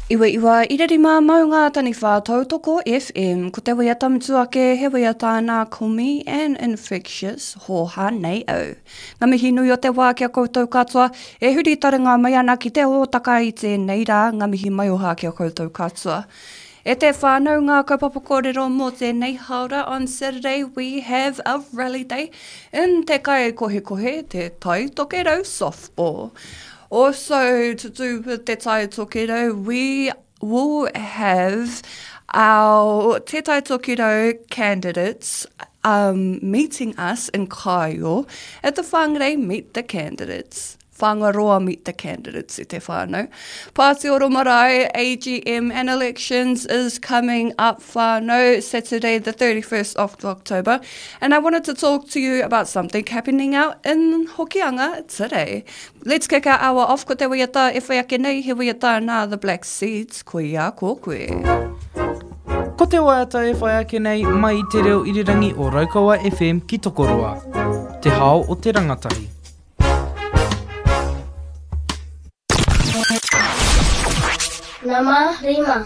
Iwa iwa ira rima maunga taniwha tautoko FM Ko te waiata mutu ake he waiata nā Komi and Infectious Hōhā nei au. Ngā mihi nui o te wā ki a koutou katoa e huri taringa mai ana ki te hōtaka i tēnei rā ngā mihi maioha ki a koutou katoa. E te whānau ngā kaupapa kōrero mō tēnei hāora on Saturday we have a rally day in Te Kaikohekohe, Te Tai Tokerau Softball. Also to do with Te Tai Tokerau we will have our Te Tai Tokerau candidates um, meeting us in Kaio at the Whangarei Meet the Candidates. Whangaroa Meet the Candidates e te whānau. Pātioro Marae, AGM and elections is coming up whānau, Saturday the 31st of October. And I wanted to talk to you about something happening out in Hokianga today. Let's kick our hour off ko te waiata e whai ake nei, he waiata nā The Black Seeds, koia ko koe. Ko te waiata e whai ake nei mai i te reo irirangi o Raukawa FM ki Tokoroa. Te hao o te rangatahi. Nama rima.